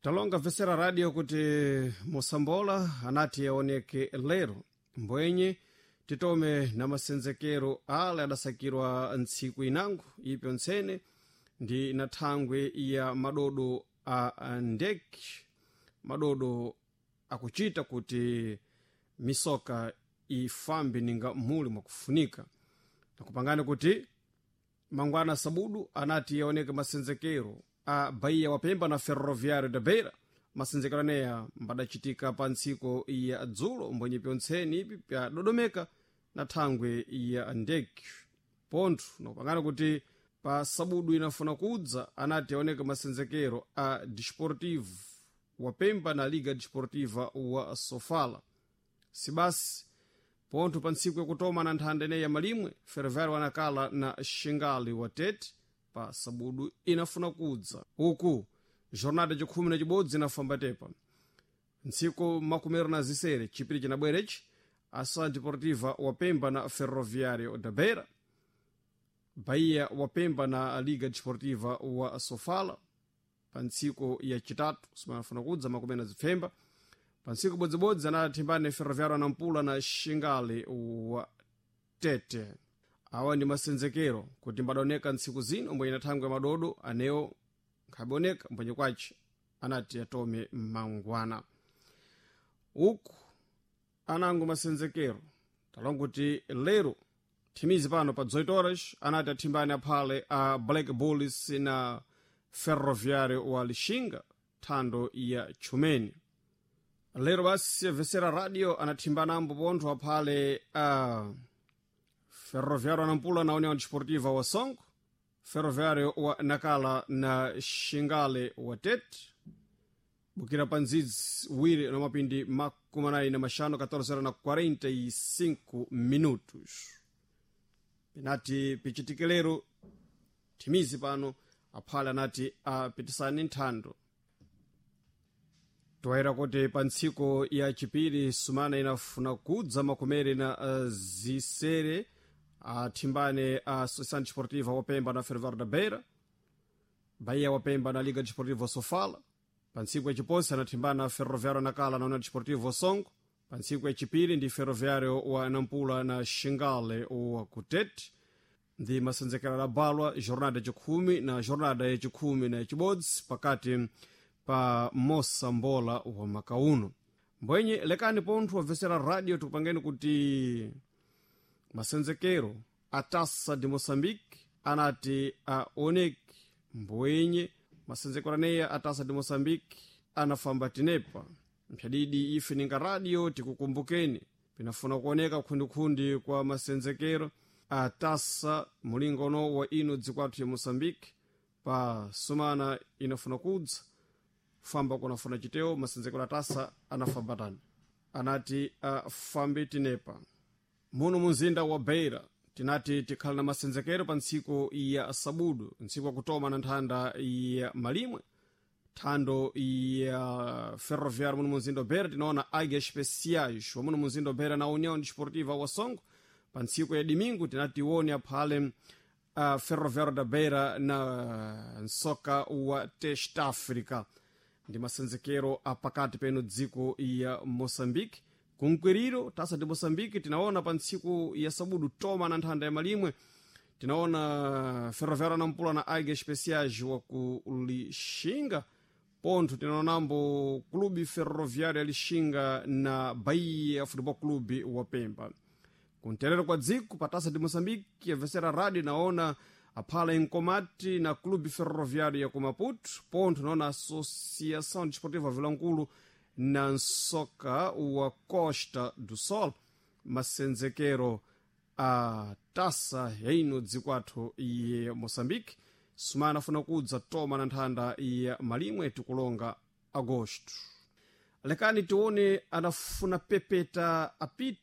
Talonga vesera radio kuti Mosambola anati aoneke lero, mbwenye titome na masenzekero ale adasakirwa ntsiku inango ipyo ntsene ndi na thangwe ya madodo a ndeki, madodo akuchita kuti misoka ifambe ninga muli mwakufunika. Nakupangani kuti mangwana sabudu anati yaoneke masenzekero a Bahia wapemba na Ferroviário da Beira. Masenzekero aneya mbadachitika pa ntsiko ya dzulo, mbwenye pyontseni ipi pyadodomeka na thangwe ya ndeki. Pontho nakupangani kuti pa sabudu inafuna kudza anati yaoneke masenzekero a Desportivo wapemba na Liga Desportiva wa Sofala. Sibasi pontho pa ntsiku yakutoma na nthanda ineyi ya malimwe, Ferroviário wanakala na Xingali wa Tete pa sabudu inafuna kudza. Uku jornada yacikhumi na cibodzi inafamba tepa ntsiku 26 chipiri cinabwerechi, Ação Deportiva wapemba na Ferroviário da Beira, Bahia wapemba na Liga Desportiva wa Sofala pa ntsiku yacitatu simanafuna kudza 20. Pa ntsiku bodzibodzi anathimbane Ferroviário Nampula na Xingali wa Tete. Awa ndi masenzekero kuti mbadaoneka ntsiku zino, mbwenye na thangwe ya madodo anewo nkhaboneka, mbwenye kwace anati atome mangwana. Uku anango masenzekero talonga kuti lero thimizi pano pa 18 horas anati athimbane aphale a Black Bulls na Ferroviário wa Lixinga, thando ya Chumene. Lero basi vesera radio anathimbana pontho aphale a Ferroviário Nampula na União Desportiva wa Songo, Ferroviário wa Nakala na Xingale wa Tete, bukira pa ndzidzi wiri na mapindi 45, 14 horas na 45 minutos. Pinati pichitike lero thimizi pano aphale anati apitisane nthando. Toera kuti pa ntsiku ya chipiri sumana inafuna kudza 26 athimbane a Associação Desportiva wapemba na Ferroviário da Beira, Bahia wapemba na Liga Desportiva Sofala. Pa ntsiku yaciposi anathimbana Ferroviário Nakala na União Desportiva Songo. Pa ntsiku yacipiri ndi Ferroviário wa Nampula na Xingale wa Kutete. Ndi masenzekero adabalwa jornada yacikhumi na jornada yacikhumi na yacibodzi pakati pa Mosambola wa makauno. Mbwenye lekani pontho wabvesera radio tikupangeni kuti masenzekero a Taça de Moçambique anati aoneke, mbwenye masenzekero aneya a Taça de Moçambique anafamba tinepa mphyadidi. Ife ninga radio tikukumbukeni pinafuna kuoneka khundikhundi kwa masenzekero a taça mulingono wa ino dzikwathu ya Moçambique pa sumana inafuna kudza famba kunafuna chitewo. Masenzekero a taça anafamba tani anati afambe tinepa muno munzinda wa Beira. Tinati tikhala na masenzekero pa ntsiku ya sabudu, ntsiku yakutoma na nthanda ya malimwe, thando ya Ferroviário muno munzinda wa Beira. Tinaona Águias Especiais wa muno munzinda wa Beira na União Desportiva wa Songo. Pa ntsiku ya domingo tinati tione aphale Ferroviário da Beira na nsoka wa Test África. Ndi masenzekero apakati peno dziko ya Moçambique. Kunkwiriro Taça de Moçambique tinaona pa ntsiku ya sabudu toma na nthanda ya malimwe, tinaona Ferroviário Nampula na Águias Especiais wa ku Lixinga. Pontho tinaonambo Clube Ferroviário ya Lixinga na Bahia Futebol Clube wa Pemba. Kunterero kwa dziko pa Taça de Moçambique, a radio naona aphala Inkomati na Clube Ferroviário ya ku Maputo. Pontho naona Associação Desportiva Vilankulu na nsoka wa Costa do Sol. Masenzekero a taça yaino dzikwathu ya Moçambique sumana afuna kudza toma na nthanda ya malimwe, tikulonga agosto. Lekani tione anafuna pepeta apito.